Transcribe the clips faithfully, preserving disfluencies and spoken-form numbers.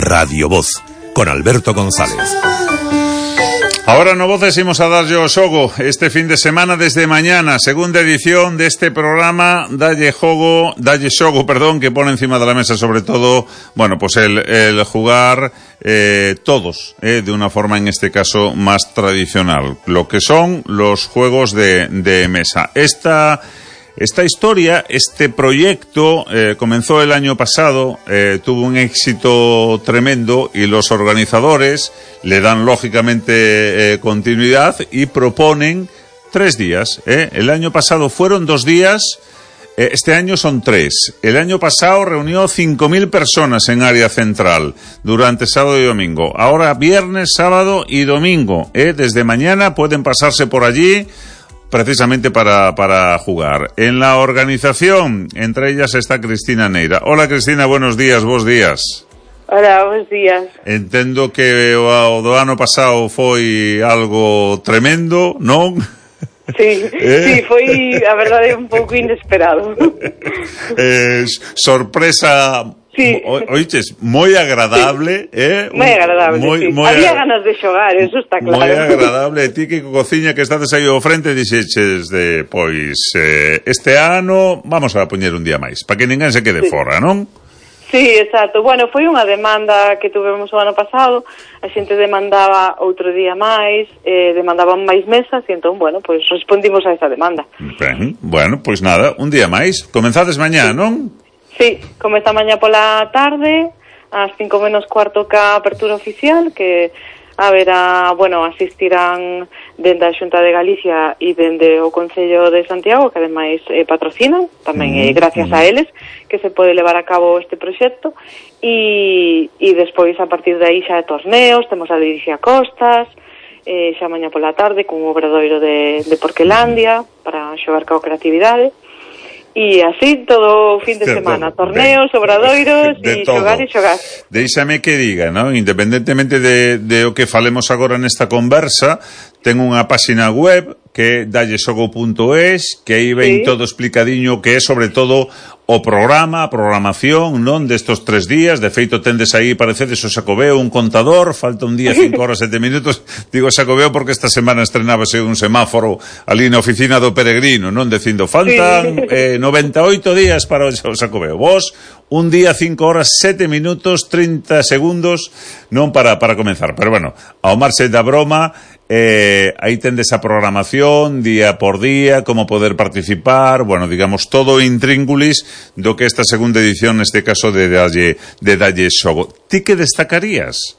Radio Voz, con Alberto González. Ahora no voces imos a darlle o xogo este fin de semana desde mañana, segunda edición deste programa Dalle Jogo, Dalle Xogo, perdón, que pone encima de la mesa sobre todo, bueno, pues el, el jugar eh, todos, eh, de una forma en este caso más tradicional, lo que son los juegos de, de mesa. Esta... Esta historia, este proyecto, eh, comenzó el año pasado, eh, tuvo un éxito tremendo y los organizadores le dan lógicamente eh, continuidad y proponen tres días. Eh. El año pasado fueron dos días, eh, este año son tres. El año pasado reunió cinco mil personas en área central durante sábado y domingo. Ahora viernes, sábado y domingo. Eh. Desde mañana pueden pasarse por allí precisamente para, para jugar. En la organización, entre ellas está Cristina Neira. Hola Cristina, buenos días, vos días. Hola, buenos días. Entendo que o do ano pasado foi algo tremendo, non? Sí, eh? sí, foi, a verdade, un pouco inesperado. eh, sorpresa... Sí. O, oiches, moi agradable, sí. eh? Moi agradable, moi, sí. Moi Había ag... ganas de xogar, eso está claro. Moi agradable. Ti que cociña que estades aí ao frente dixeches de, pois, eh, este ano vamos a poñer un día máis, para que ninguén se quede sí. fora, non? Sí, exacto. Bueno, foi unha demanda que tuvemos o ano pasado, a xente demandaba outro día máis, eh, demandaban máis mesas, e entón, bueno, pois respondimos a esa demanda. Ben, bueno, pois nada, un día máis. Comenzades mañá, sí. non? Sí, comeza mañá pola tarde, ás cinco menos cuarto ca apertura oficial, que haberá, bueno, asistirán dende a Xunta de Galicia e dende o Concello de Santiago, que ademais eh, patrocinan, tamén eh, gracias a eles, que se pode levar a cabo este proxecto, e, e despois a partir de aí xa de torneos, temos a Liricia Costas, eh, xa mañá pola tarde, cun obradoiro de, de Porquelandia, para xogar ca creatividade, e así todo o fin de semana, torneos, obradoiros e xogar e xogar. Deixame que diga, ¿no? Independentemente de, de o que falemos agora nesta conversa, ten unha página web que é dalle xogo punto es, que aí ven sí. todo explicadiño, que é sobre todo o programa, a programación, non, destos tres días. De feito, tendes aí, parecedes o Xacobeo, un contador, falta un día, cinco horas, sete minutos. Digo Xacobeo porque esta semana estrenábase un semáforo ali na oficina do Peregrino, non, dicindo, faltan sí. eh, noventa e oito días para o Xacobeo. Vos, un día, cinco horas, sete minutos, trinta segundos, non para, para comenzar. Pero bueno, ao marxe da broma, Eh, aí tendes a programación día por día, como poder participar, bueno, digamos, todo intríngulis do que esta segunda edición, neste caso de Dalle, de Dalle Xogo. Ti que destacarías?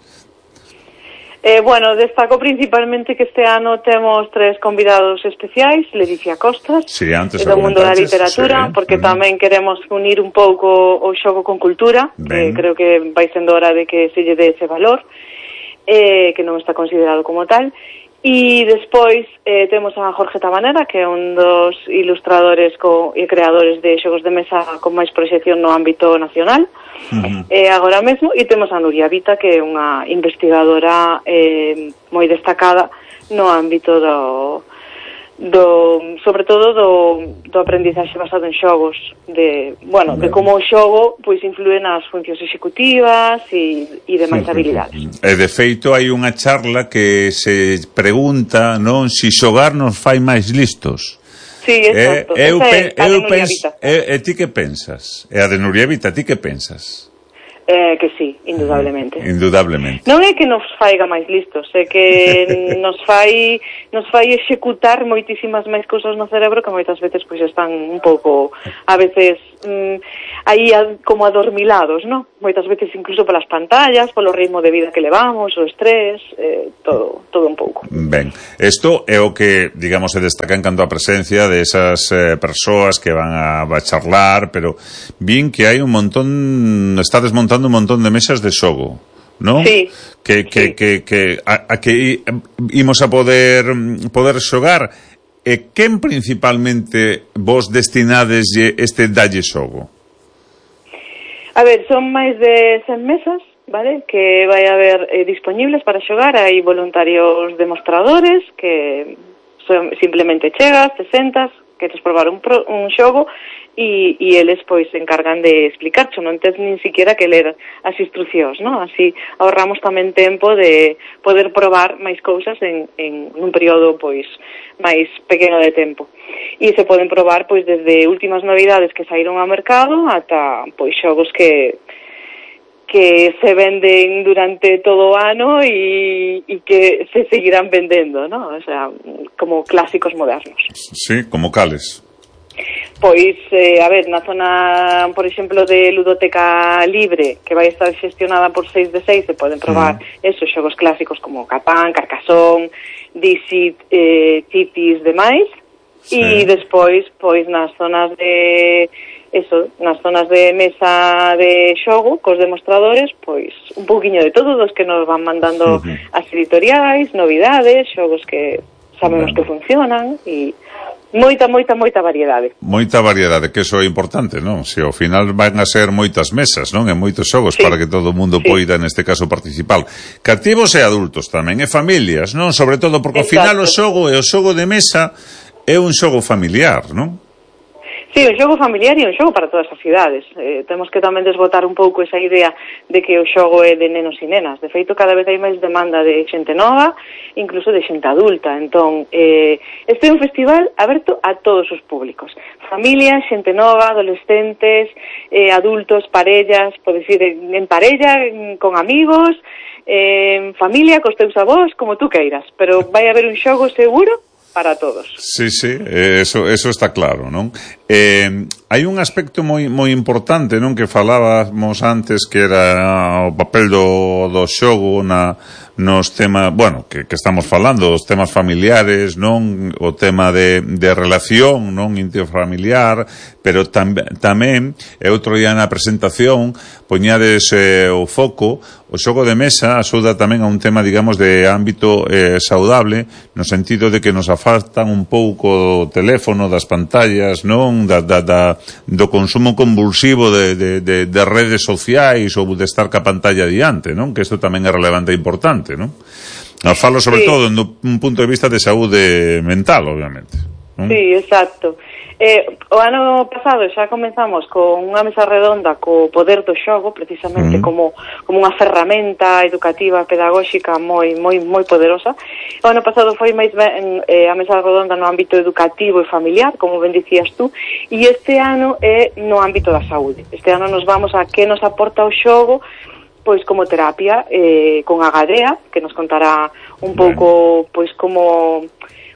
Eh, bueno, destaco principalmente que este ano temos tres convidados especiais, Ledicia Costas, sí, antes do mundo da literatura, sí. porque uh-huh. tamén queremos unir un pouco o xogo con cultura, eh, creo que vai sendo hora de que se lle dé ese valor, eh, que non está considerado como tal. E despois eh, temos a Jorge Tabanera, que é un dos ilustradores co, e creadores de xogos de mesa con máis proxección no ámbito nacional, uh-huh. eh, agora mesmo, e temos a Nuria Vita, que é unha investigadora eh, moi destacada no ámbito do, do sobre todo do, do aprendizaxe basado en xogos, de, bueno, de como o xogo pois influe nas funcións executivas e, e demais habilidades. E de feito hai unha charla que se pregunta, non, si xogar nos fai máis listos. Sí, exacto. Eh, eu, pe, eu penso, e, e ti que pensas? E a de Nuria Vita, ti que pensas? Eh, que sí, indudablemente. Indudablemente. Non é que nos faiga máis listos, é que nos fai nos fai executar moitísimas máis cousas no cerebro que moitas veces pois están un pouco, a veces mm, aí a, como adormilados, non? Moitas veces incluso polas pantallas, polo ritmo de vida que levamos, o estrés, eh, todo, todo un pouco. Ben, isto é o que, digamos, se destaca en canto a presencia de esas eh, persoas que van a, a charlar, pero vin que hai un montón, está desmontando un montón de mesas de xogo, ¿no? Sí. Que, que, sí. que, que a, a que imos a poder poder xogar. E quen principalmente vos destinades este Dalle Xogo? A ver, son máis de cen mesas, vale? Que vai haber eh, disponibles para xogar. Hai voluntarios demostradores que son, simplemente chegas, te sentas, queres probar un, pro, un xogo e, e eles pois se encargan de explicarcho, non tens nin siquiera que ler as instruccións, non? Así ahorramos tamén tempo de poder probar máis cousas en, en un período pois máis pequeno de tempo. E se poden probar pois desde últimas novidades que saíron ao mercado ata pois xogos que que se venden durante todo o ano e, e que se seguirán vendendo, ¿no? O sea, como clásicos modernos. Sí, como cales? Pois, eh, a ver, na zona, por exemplo, de Ludoteca Libre, que vai estar xestionada por seis de seis, se poden probar mm. esos xogos clásicos como Catán, Carcassonne, Dixit, eh, Cities, demais. Sí. E despois, pois, nas zonas de... eso, nas zonas de mesa de xogo, cos demostradores, pois un pouquiño de todo, dos que nos van mandando uh-huh. as editoriais, novidades, xogos que sabemos bueno. que funcionan e moita, moita, moita variedade. Moita variedade, que eso é importante, non? Se ao final van a ser moitas mesas, non? E moitos xogos sí. para que todo o mundo sí. poida, neste caso, participar. Cativos e adultos tamén, e familias, non? Sobre todo porque ao final o xogo e o xogo de mesa é un xogo familiar, non? Sí, un xogo familiar e un xogo para todas as cidades. Eh, temos que tamén desbotar un pouco esa idea de que o xogo é de nenos e nenas. De feito, cada vez hai máis demanda de xente nova, incluso de xente adulta. Entón, eh, este é un festival aberto a todos os públicos. Familias, xente nova, adolescentes, eh, adultos, parellas, podes ir en parella, con amigos, eh, en familia, cos teus avós, como tú queiras. Pero vai haber un xogo seguro para todos. Sí, sí, eso, eso está claro, non? Eh, hai un aspecto moi moi importante, non, que falábamos antes, que era o papel do, do xogo na, nos temas, bueno, que, que estamos falando, os temas familiares, non? O tema de, de relación, non, intrafamiliar, pero tam, tamén, e outro día na presentación, poñades eh, o foco, o xogo de mesa axuda tamén a un tema, digamos, de ámbito eh, saudable, no sentido de que nos afastan un pouco do teléfono, das pantallas, non? Da, da, da, do consumo convulsivo de, de, de, de redes sociais ou de estar ca pantalla diante, non? Que isto tamén é relevante e importante, non? Nos falo sobre sí. todo do un punto de vista de saúde mental, obviamente, non? Sí, exacto. Eh, o ano pasado xa comenzamos con unha mesa redonda co poder do xogo, precisamente uh-huh. como, como unha ferramenta educativa, pedagóxica moi moi moi poderosa. O ano pasado foi máis ben eh, a mesa redonda no ámbito educativo e familiar, como ben dicías tú, e este ano é no ámbito da saúde. Este ano nos vamos a que nos aporta o xogo, pois como terapia, eh, con Agadea, que nos contará un pouco, pois como...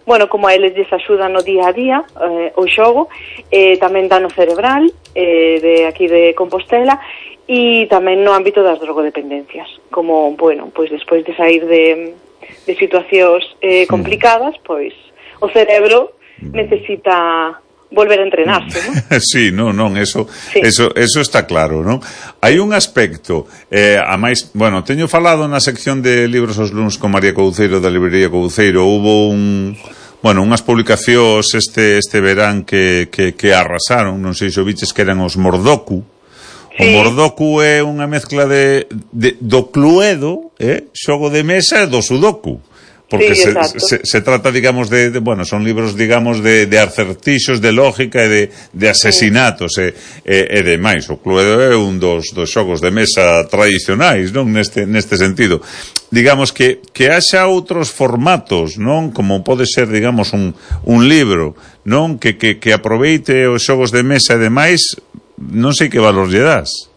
bueno, como a eles lles axuda no día a día eh, o xogo, eh, tamén dano cerebral eh, de aquí de Compostela e tamén no ámbito das drogodependencias, como, bueno, pois despois de sair de, de situacións eh, complicadas, pois o cerebro necesita volver a entrenarse, ¿no? Sí, non, non, eso, sí. eso, eso está claro, non? Hai un aspecto, eh, a máis, bueno, teño falado na sección de libros os luns con María Couceiro da librería Couceiro, hubo un, bueno, unhas publicacións este este verán que, que, que arrasaron, non sei se o biches que eran os Mordoku. Sí. O Mordoku é unha mezcla de, de do Cluedo, eh, xogo de mesa e do Sudoku. Porque sí, se, se, se trata, digamos, de, de, bueno, son libros, digamos, de, de acertixos, de lógica e de, de asesinatos sí. e, e, e demais. O Cluedo é un dos, dos xogos de mesa tradicionais, non? Neste, neste sentido. Digamos que, que haxa outros formatos, non? Como pode ser, digamos, un, un libro, non? Que, que, que aproveite os xogos de mesa e demais, non sei que valor lle das.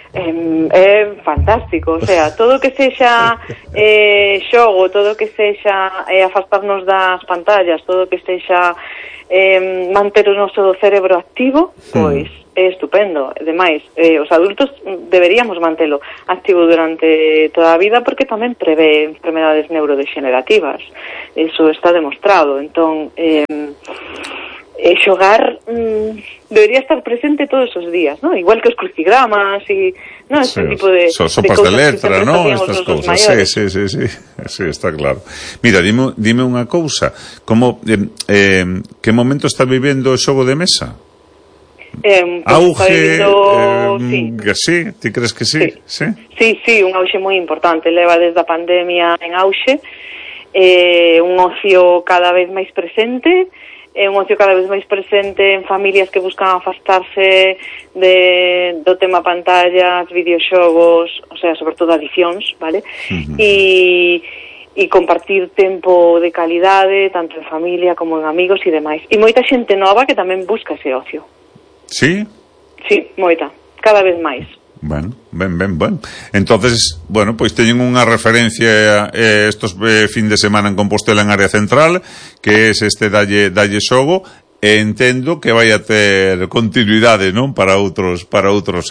Eh, é fantástico, o sea, todo o que sexa eh, xogo, todo o que sexa eh, afastarnos das pantallas, todo o que sexa eh, manter o noso cerebro activo, pois é estupendo. Ademais, eh, os adultos deberíamos mantelo activo durante toda a vida porque tamén prevé enfermedades neurodegenerativas, eso está demostrado. Entón, eh, eh, xogar mm, debería estar presente todos os días, ¿no? Igual que os crucigramas e, ¿no? Este sí, tipo de, so, sopas de, de letra, ¿no? Estas cousas. Sí, sí, sí, sí, sí, está claro. Mira, dime, dime unha cousa, como eh, eh, que momento está vivendo o xogo de mesa? Eh, pues auge, vivindo, eh, sí. Que sí, ti crees que sí? Sí, sí, sí, sí, un auge moi importante, leva desde a pandemia en auge, eh, un ocio cada vez máis presente, é un ocio cada vez máis presente en familias que buscan afastarse de, do tema pantallas, videoxogos, o sea, sobre todo adicións, vale? Uh-huh. E, e compartir tempo de calidade, tanto en familia como en amigos e demais. E moita xente nova que tamén busca ese ocio. Sí? Sí, moita, cada vez máis. Bueno, ben, ben, ben. Entonces, bueno, pois teñen unha referencia eh, estos eh, fin de semana en Compostela en área central, que es este Dalle, Dalle Xogo, e entendo que vai a ter continuidade, non? Para outros, para outros